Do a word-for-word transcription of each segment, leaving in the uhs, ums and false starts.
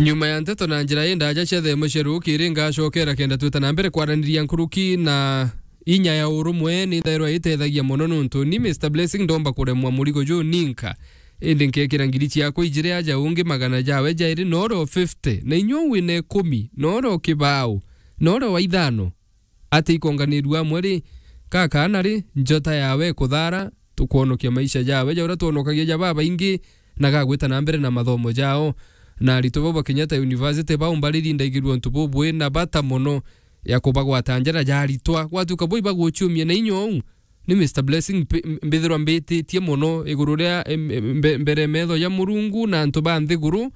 Nyuma ya nteto na njira indaja cia themo cia rukiri, ngacokera kenda twita na mbere kwaraniria nkuruki na inya ya urumwe ni thairwa itethagia mono, nontu ni Mister Blessing ndomba kuremwa murigo juu ninka. Indi nkekira ngiri ciakwa ijiri aja ungi magana jawe jairi, noro fifty, na inyuo wina ikumi, noro kibao, noro wa ithano. Ati ikonganirua amwe ri, ka kaana ri, njota yawe ikuthara, tukwonokia maisha jawe ja uria twonokagia ja babaingi, na gagwita na mbere na mathomo jao. Na aritwa bau ba Kenyatta University baumba riri ndaigirua untu bubwi na bata mono ya kubagwata njara ja aritwa. Gwatuka bo ibaguciumia na inya uu, ni Mister Blessing mpi-, mbithirwa mbititie mono iguru ria, em-, em-, mbe-, mbere metho ya Murungu na antu ba nthiguru,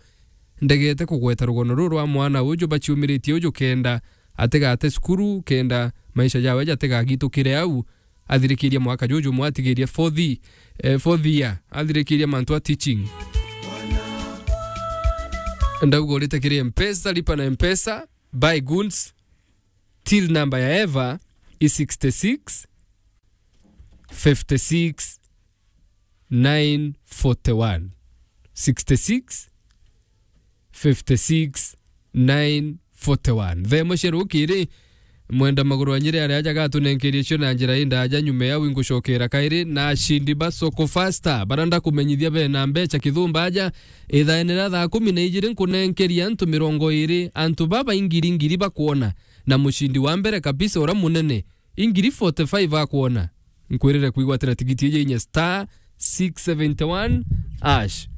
ndegete kugweta rugono ruru rwa mwana uju baciumiritie uju kenda atigate cukuru, kenda maisha jawe jatigagitukire au. Athirikiria mwaka juju mwe atigirie fourth, eh, fourth year, athirikiria mantu a teaching. Ndauga urite kiri Mpesa, lipa na Mpesa, buy goods, till number ya Eva i sixty-six, fifty-six, nine forty-one. Sixty-six, fifty-six, nine forty-one. Themo cia rukiri, mwenda maguru anyire aria aja gatunenkerie cio na njira indaja nyuma ya wingucokera kairi na ashindi ba Soko Faster. Bara ndakumenyithia bena mbecha kithumba aja, ithaene ria thaa kumi na ijiri nkunenkeria antu mirongo iri, antu baba ingiri ngiri bakwona, na mushindi wa mbere kabisa uria munene ingiri forty-five akwona. Nkwirire kwigwatira tigiti iji inya star six seventy-one hash.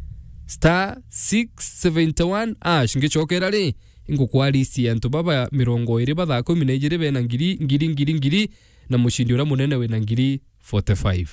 Star six seventy-one hash. Ngicokera ri, ingukwa list ya antu baba mirongo iri ba thaa kumi na ijiri bena ngiri, ngiri, ngiri, ngiri, na mushindi uria munene wina ngiri forty-five.